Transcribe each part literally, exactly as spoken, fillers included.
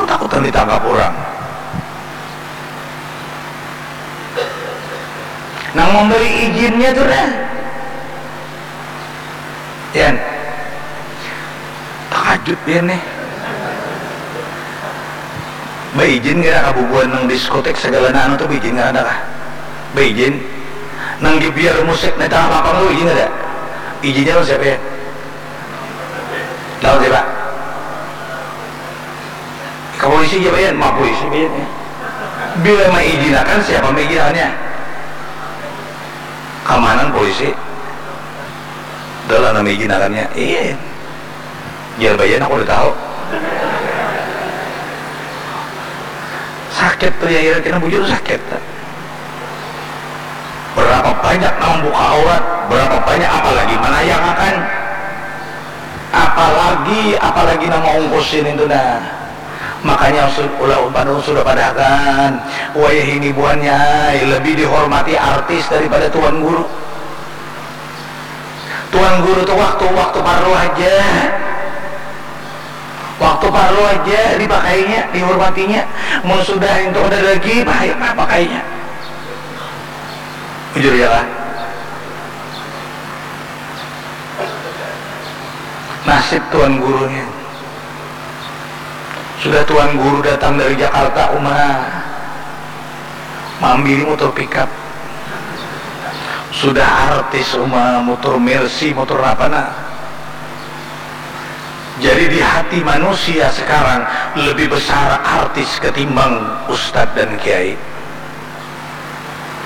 Takutan ditangkap urang. Nang memberi izinnya tu nah, Yan, takajut dia nih. Baizin kada kabubuhan nang diskotik segala nang anu tu baizin kada kah? Baizin. Nang dibiar musik nih tangah lapang tu baizin kada? Izinnya lawan siapa ya? Lawan siapa? Ka polisi ja bayan, ma polisi bayan ya. Bila maijinakan, siapa maijinakannya? Kamanan polisi. Dah lah nang maijinakannya. Iya. Jar bayan aku udah tahu. Sakit tuh ya, kena bujur sakit. Berapa banyak nang buka aurat, berapa banyak apalagi manayangakan. Apalagi, apalagi nang maungkusin itu nah. Makanya ulah umpan sudah padahakan wayah ini buhannya lebih dihormati artis daripada tuan guru. Tuan guru tuh waktu waktu parlu aja, waktu parlu aja dipakainya, dihormatinya. Mun sudah itu ada lagi bahaya pakainya. Bujur ya lah. Nasib tuan gurunya. Sudah tuan guru datang dari Jakarta uma, maambili motor pickup. Sudah artis uma, motor Mercy, motor apa nah. Jadi di hati manusia sekarang lebih besar artis ketimbang ustadz dan kiai.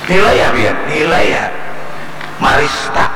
Nilai ya, Bian, nilai ya. Marista